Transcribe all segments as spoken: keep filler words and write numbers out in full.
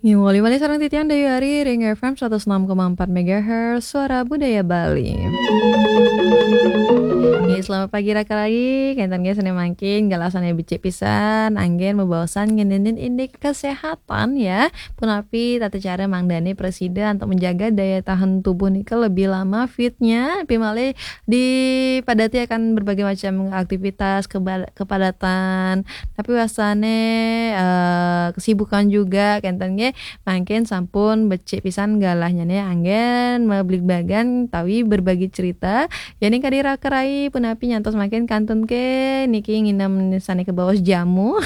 Ngiwali malih sareng titiang Dayu Ari ring F M seratus enam koma empat megahertz, Suara Budaya Bali. Nggih, selamat pagi raka rai. Kenten nggih, sané mangkin galah sané becik pisan, anggén mabaosan ngenénin indik kesehatan ya. Punapi tata cara mangdané prasida antuk menjaga daya tahan tubuh nika lebih lama fitnya, napi malih dipadati akan berbagai macam aktivitas, keba-, kepadatan, napi wastané, eh, kesibukan juga, kenten nggih. Mangkin sampun becik pisan galahnyané anggén mabligbagan tawi berbagi cerita. Yéning kadi raka rai punapi nyantos mangkin kantun ké niki nginem sané kabaos jamu.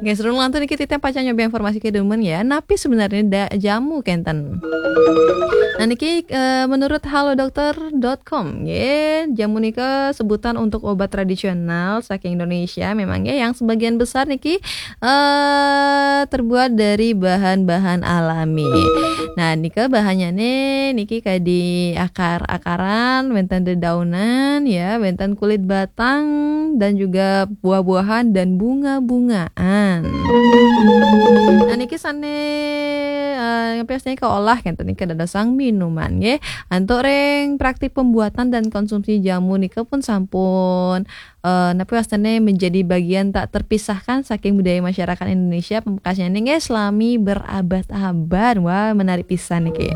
Nggih, sareng lantur niki titiang pacang nyoba informasi ké dumun ya. Napi sebenarnya da-, jamu kenten? Nah, niki, eh, menurut halodoc dot com, nggih, jamu nika sebutan untuk obat tradisional saking Indonesia. Memang nggih, yang sebagian besar niki, eh, terbuat dari bahan-bahan alami. Nah, nika bahannya nih, niki kadi akar-akaran, wénten dedaunan, ya, wénten kulit batang, dan juga buah-buahan dan bunga-bungaan. Nah, niki sané, eh, napi wastané kaolah kenten niki dadosang minuman, nggih. Antuk ring praktik pembuatan dan konsumsi jamu nika pun sampun, eh, napi wastané menjadi bagian tak terpisahkan saking budaya masyarakat Indonesia. Pamekasnyané nggih selami berabad-abad. Wah, menarik pisan niki.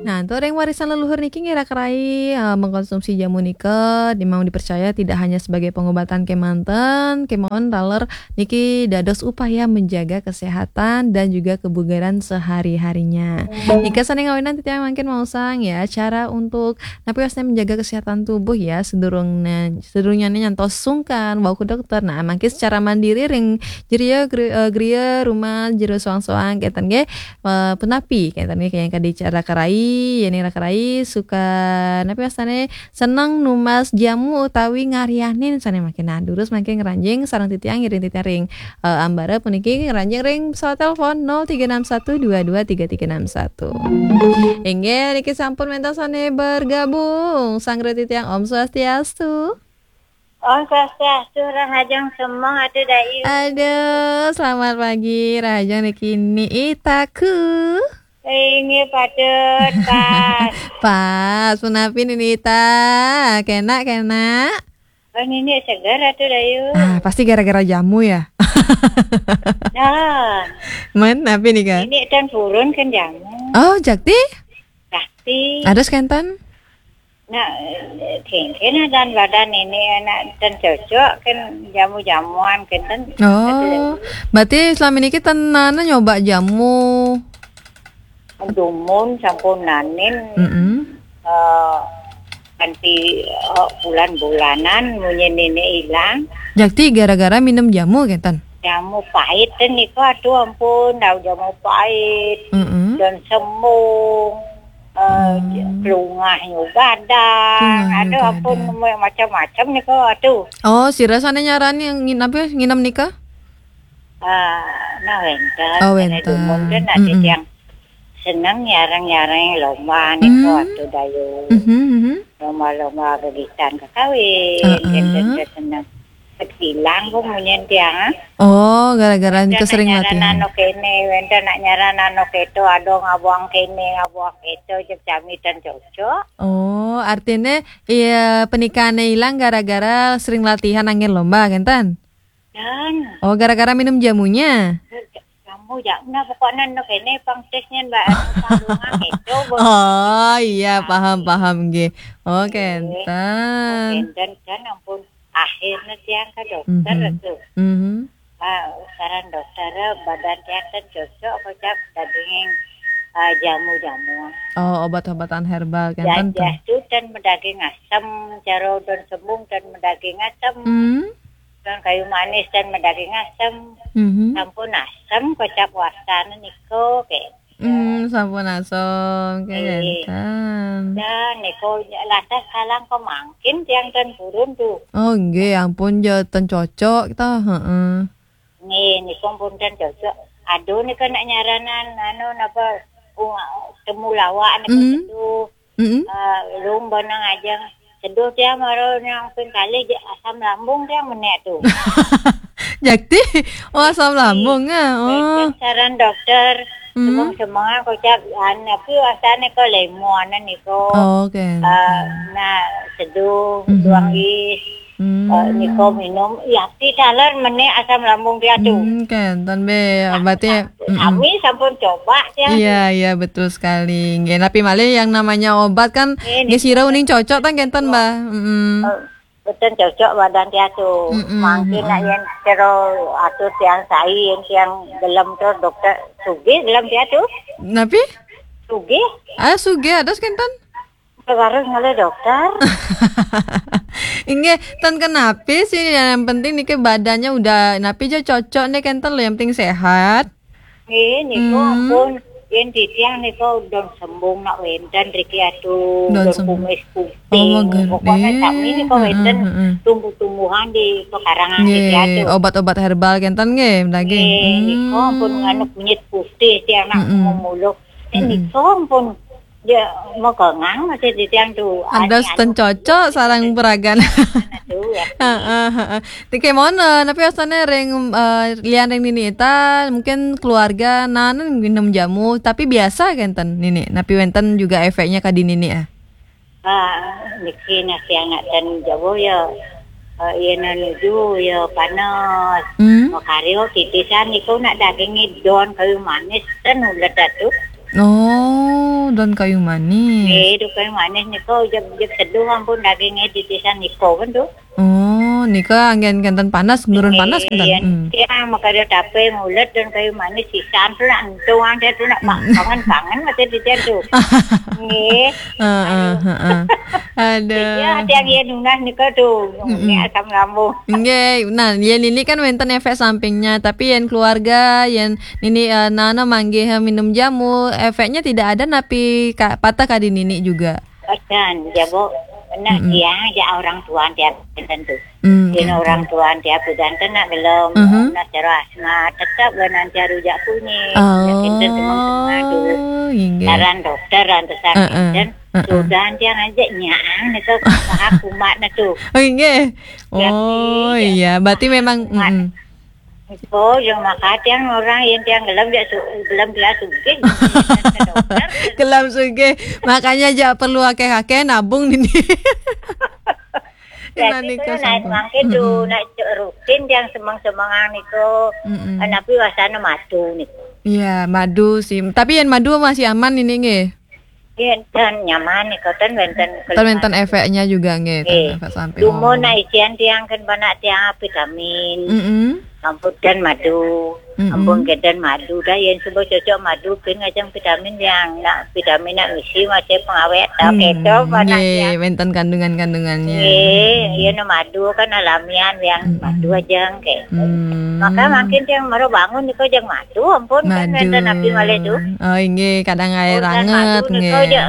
Nah, antuk ring warisan leluhur niki nggih raka rai, eh, mengkonsumsi jamu nika memang dipercaya tidak hanya sebagai pengobatan kémanten, kémaon taler niki dados upaya menjaga kesehatan dan juga kebugaran sehari-harinya. Nika sané ngawinan titiang mangkin maosang ya, cara untuk napi wastané menjaga kesehatan tubuh ya, sedurungna-, sedurungnyané nyantos sungkan wau ka dokter. Nah, mangkin secara mandiri ring jeria gri-, eh, griya rumah jero soang-soang kenten nggih, eh, punapi kenten nggih, kaya kadi raka rai, yéning raka rai suka napi wastané seneng numbas jamu utawi ngaryanin sané mangkin. Nah, durus mangkin ngranjing sareng titiang, ngiring titiang ring, eh, ambara puniki ngranjing ring pesawat telepon nol tiga enam satu dua dua tiga tiga enam satu. Inggih, niki sampun wénten sané bergabung. Sareng titiang, Om Swastiastu. Om Swastiastu, rahajeng semeng Atu Dayu. Aduh, selamat pagi, rahajeng niki Nini Itaku. Inggih, patut, pas. Pas, punapi Nini Ita? Kénak, kénak? Oh, Nini seger Atu Dayu. Ah, pasti gara-gara jamu ya? Nah. Men, napi nika? Nini tan purun kan jamu. Oh, jakti? Jakti. Ados kenten? Nah, kéngkén dan badan Nini anak tan cocok kan jamu-jamuan kenten. Oh, berarti selama ini kita nana nyoba jamu. Dumun sampun nanin, Mm-mm. eh, kanti, eh, bulan-bulanan munyi Nini ilang. Jakti gara-gara minum jamu kenten? Jamu pait ten niku, aduh ampun, dah jamu pait. Mm-mm. Dan sembung, eh, Hmm. Kelungah nyu badan. Kelungah nyu Aduh ampun, badan. Macam-macam niku, aduh. Oh, sira sané nyarani ngin-, apa, nginem nika? Ah, nah, wénten. Oh, wénten. Dumun ten ada Mm-mm. yang seneng nyareng-nyareng lomba niku, Hmm. Atu Dayu. Mhm, mhm. Lomba-lomba begitan kakawin, Heeh. Kénten seneng. Ketilang ku munyin tiang, ah. Oh, gara-gara Wénten nika nak sering nyaran latihan. Anu kéné, wénten nak nyaran anu kéto, ada ngabuang kéné, ngabuang kéto, jek jami tan cocok. Oh, artinya iya, pernikahannya hilang gara-gara sering latihan anggén lomba, kenten? Dan. Oh, gara-gara minum jamunya? Jamu, jamu, nah, pokoknya anu kéné pang tesnya, Mbak, anu pang bunga kéto, Bu. Oh, iya, paham, paham, nggih. Oh, Nggih. Kenten. Oh, kenten, kan ampun. Akhirnya tiang ke dokter Mhm. Tuh. Mhm. Ah, saran dokter, badan tiang ten cocok, kocap daging, ah, jamu-jamu. Oh, obat-obatan herbal, kenten tuh. Jajah tuh ten medaging asem, cara don sembung ten medaging asem. Hmm. Don kayu manis ten medaging asem. Mhm. Sampun asem, kocap wastane niku, ke. Hmm, sampun asem, ke Nggih. Kenten. Dan niku lantas kalang kemangkin tiang ten purun tuh. Oh, nggih, ampun, ya ten cocok, toh, heeh. Nggih, niku pun ten cocok. Aduh, niku nak nyaranan, anu, napa, uh, temulawak niku Mhm. Seduh. Mm-mm. Eh, lung benang aja. Seduh tiang mara nang ping kalih je asam lambung tiang menek tu. Jakti, oh, asam lambung ah. Oh. Saran dokter, hmm, semang-semangan kocap, an, tapi asane ko lemon niko. Oh, oke. Eh, nah, seduh, hmm, duang is. Hmm. Eh, niko minum, ya, ti taler menek asam lambung dia tu. Hmm, kan, tan be, berarti, mm-mm. Kami sampun coba, ya. Iya, iya, betul sekali. Nggih, tapi malih yang namanya obat kan, eh, nggih, sira uning cocok tan kenten, Mbak. Mm-mm. Eh, betul cocok badan dia tu. Mm-mm, mungkin nak, mm-mm, yang kira atur tiang sai, yang tiang gelem tu dokter sugih gelem dia tu. Napi? Sugih. Ah, sugih, ada kenten? Harus ngalih dokter. Inggih, tan kenapi sih, yang penting niki badannya udah napi aja cocok nih kenten loh, yang penting sehat. Nggih, niku, hmm, ampun, yen titiang niku don sembung nak wenten riki atu, don, don sem-, kumis putih. Oh, mager. Pokoknya, eh, sami niku wenten, heeh, heeh, tumbuh-tumbuhan di pekarangan, nggih, riki atu. Obat-obat herbal kenten nggih, daging. Nggih, niku, hmm, ampun, anu kunyit putih tiang nak, mm-mm, memuluk. Eh, mm-mm, niku ampun. Ya, mau kengang masih di tiang tu. Ada, anu, anu, ten cocok sarang peragan. Aduh, ya. Heeh, heeh. Tike mono, tapi asane ring, eh, lian ring nini ita, mungkin keluarga nanen minum jamu, tapi biasa kenten nini. Tapi wenten juga efeknya ka di nini ah. Ah, niki nasi anak dan Jawa ya. Eh, iya nuju ya panas. Hmm? Makaryo titisan niku nak dagingnya don kayu manis ten ulet atu. Oh, don kayu manis. Eh, don kayu manis niku jeb, jeb seduh ampun dagingnya titisan niku kan tu. Oh, nika anggen kenten panas, nurun panas kenten. Iya, hmm, tiang makarya tape ngulet don kayu manis sisan tu nak entung anggen tu nak, hmm, pangan-pangan mate di tiang tu. Nggih. Heeh, heeh. Aduh. Iya, tiang iya nunas nika tu. Mm-mm. Ini asam lambung. Nggih, nah, yen ini kan wenten efek sampingnya, tapi yen keluarga, yen nini, eh, nana manggih, eh, minum jamu, efeknya tidak ada napi ka, patah kadi nini juga. Adan, jabo, nak, mm-mm, tiang aja orang tua tiap kenten tu. Mm, yen kenten. Orang tua tiap kenten nak gelem, mhm, nak cara asma, tetap benan cara rujak kunyit. Oh, ya, kenten semang-semang tu. Inggih. Saran dokter, saran, heeh, kenten, heeh, sudah tiang aja nyang, nika kumat na tu. Oh, inggih. Ya, oh, iya, iya. Berarti memang, kumat. Mm-mm. Oh, yang maka tiang orang yang tiang gelem dia su-, gelem dia sugih. Gelem sugih. Makanya aja perlu akeh-akeh nabung ini. Jadi nika tu sampun. Mangke tu, mm-mm, nak rutin tiang semang-semangan niku. Mm-mm. Napi wasana madu niku. Iya, madu sih. Tapi yang madu masih aman ini nggih. Iya, dan nyaman nih, kau ten wenten. Ten wenten efeknya juga nggih, ten efek samping. Dumun nak isian tiang kan banyak tiang vitamin. Mm-mm. Ampun dan madu. Mm-mm. Ampun kenten madu dah, yang suba cocok madu pin ngajeng vitamin yang nak vitamin nak misi masih pengawet tau, hmm, keto banyak nggih, ya. Wenten kandungan-kandungannya. Nggih, iya, nak madu kan alamiah yang, mm-mm, madu aja nggih. Hmm. Maka mungkin yang baru bangun niku jeng madu, ampun kan madu. Wenten napi malih tu. Oh, inggih, kadang air anget, madu niku nggih. Aja,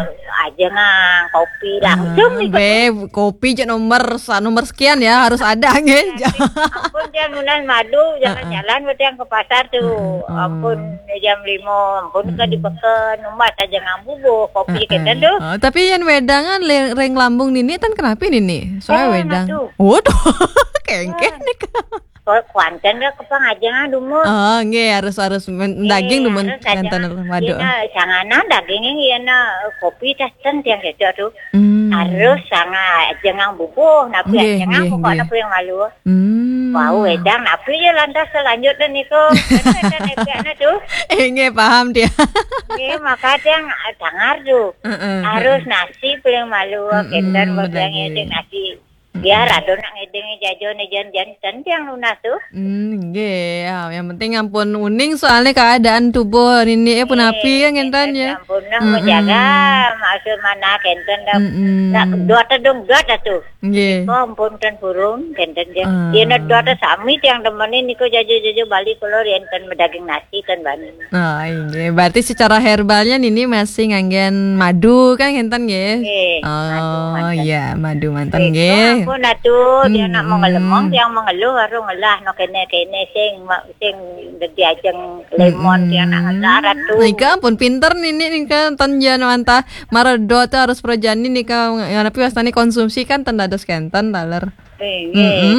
aja ngang kopi langsung, ah, niku. Be, kopi je nomor sa-, nomor sekian ya, harus ada nggih. Ampun, tiang nunas madu, jalan-jalan, ah, ah, tiang ke pasar tu. Ah, ah. Ampun, jam lima, ampun, ke di peken, umat aja ngang bubuh, kopi, ah, ah, kenten tu. Oh, tapi yang wedangan le-, ring lambung nini, tan kenapi nini? Soalnya oh, wedang. Nah tu. Waduh, kengkeh nih. Kuanten dah kepang aja ngang dumun. Oh, nggih, harus, harus men-, daging dumun, harus aja nganten ngang. Waduh. Iya, nah, janganan daging, iya, nah, kopi tas ten tiang kecok tu. Hmm. Harus sangat aja ngang bubuh, napi nggih, aja ngang nggih, pokok nggih. Napi yang malu. Hmm. Wau, wedang, napi ya lantas selanjutnya niku. Kan ada efeknya tu. Eh, nggih, paham dia. Nggih, maka tiang, ah, dangar tu. Heeh, harus heeh. Nasi paling malu, mm-mm, kenten, betul, bagian nggih. Nasi. Biar ada nak ngedeng jajo ne jan-jan ten tiang nunas tu. Hmm, nggih. Ya, yang penting ampun uning soalnya keadaan tubuh nini eh punapi ya nggih, kenten ya. Ampun nah, mm-mm, menjaga maksud mana kenten dah. Mm-mm. Nak dua tedung dua dah tu. Nggih. Kok ampun ten burung kenten ya. Ah. Iya nak dua tedung sami tiang demenin niku jajo-jajo Bali keluar yang ten medaging nasi ten bani. Oh, inggih. Berarti secara herbalnya nini masih nganggen madu kan kenten nggih? Nggih, madu manten. Oh, iya, madu manten nggih. Nggih. Pun atuh, dia nak mengelemong, dia mengeluh, baru ngelah no kene-kene sing ma-, sing dadi ajeng lemon, dia nak ngelah atuh. Nika pun pinter nini nika, ten jan wantah maredot harus perjani nika, ya, tapi wastani konsumsi kan ten dados kenten taler. Nggih.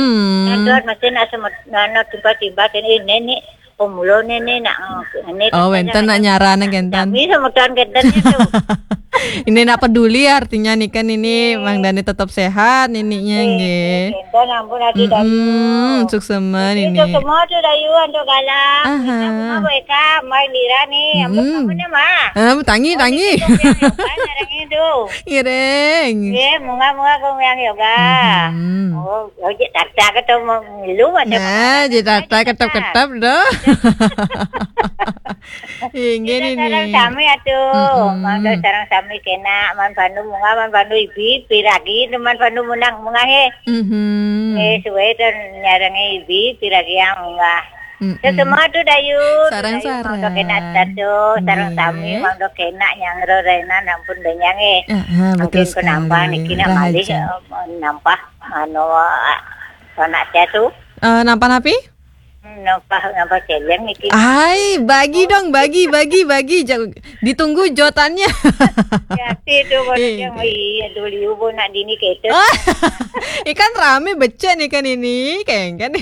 Nah, terus mesti nak semet-, anu, tiba-tiba kene, "Ini, ini, pemulone ini nak, ini." Oh, wenten nak nyarana kenten. Kami semeton kenten itu. Ini nak peduli artinya nih kan ini Mang Dani tetap sehat nininya nggih. Kenten ampun ati Dayu. Suksema nini. Suksema tuh Dayu antuk galang. Aha. Bunga Eka, mai lira nih, ampun kamu nih mah. Ah, tangi, tangi. Ngiring. Nggih, munga-munga kong yang yoga. Oh, oh, jek tata ketemu lu ada. Nah, jek tata ketep-ketep doh. Inggih ini. Sareng sami atuh. Mangga sareng sami kena, man pandu munga, man pandu ibi, piragi, man pandu munang munga he. Eh, suwe ten nyarengi ibi, piragi yang munga. Sesemua tuh Dayu. Sareng-sareng. Mangga kena satu, sareng sami, mangga kena nyangro rena nampun benyang eh. Mungkin penambah niki nak malih, eh, nambah anu, eh, anak saya tuh. Eh, nambah napi? Nambah, nambah celeng niki. Hai, bagi dong, bagi, bagi, bagi. Jauh. Ditunggu jotannya. Hati itu baru dia, "Oh iya, dulu ibu nak dini gitu." Ikan rame becek nih kan ini, kayaknya kan.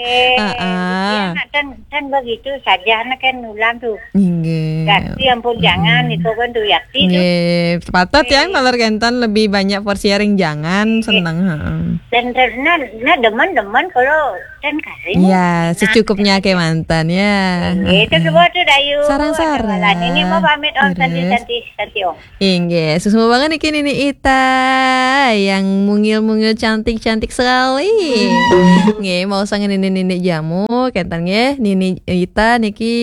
Iya. Kan, kan begitu saja, anak kan nulang tuh. Inggih. Yakti ampun, jangan itu kan tuh, yakti tuh. Nggih, sepatut ya, kalau kenten lebih banyak porsi ring jangan, seneng, heeh. Dan, dan, nah, nah, demen-demen kalau dan karing. Ya, secukupnya ke mantan ya. Itu semua tuh Dayu. Sarang-sarang. Ini mau pamit om, santi, santi, santi om. Inggih, suksma banget niki Nini Ita yang mungil-mungil cantik-cantik sekali. Nggih, mau sange nini-nini jamu, kenten nggih, Nini Ita niki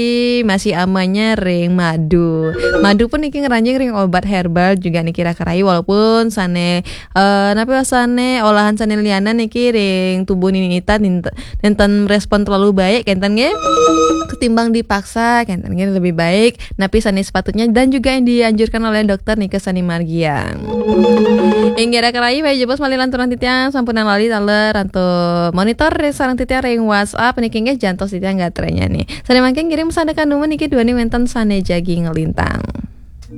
masih amanya ring madu. Madu pun niki ngeranjing ring obat herbal juga niki Raka Rai, walaupun sane, eh, napi wasane olahan sane lianan niki ring tubuh Nini Ita nenten respon terlalu baik, kenten nggih. Ketimbang dipaksa, kenten nggih lebih baik napi sane sepatutnya dan juga yang dianjurkan oleh dokter nika sane margiang. Inggih Raka Rai, baik jebos malih lanturan titiang sampunang lali taler antuk monitor sareng titiang ring WhatsApp niki nggih jantos titiang gatranya nih. Sane mangkin ngirim sandang kanumun niki duaning wenten sane jagi ngelintang.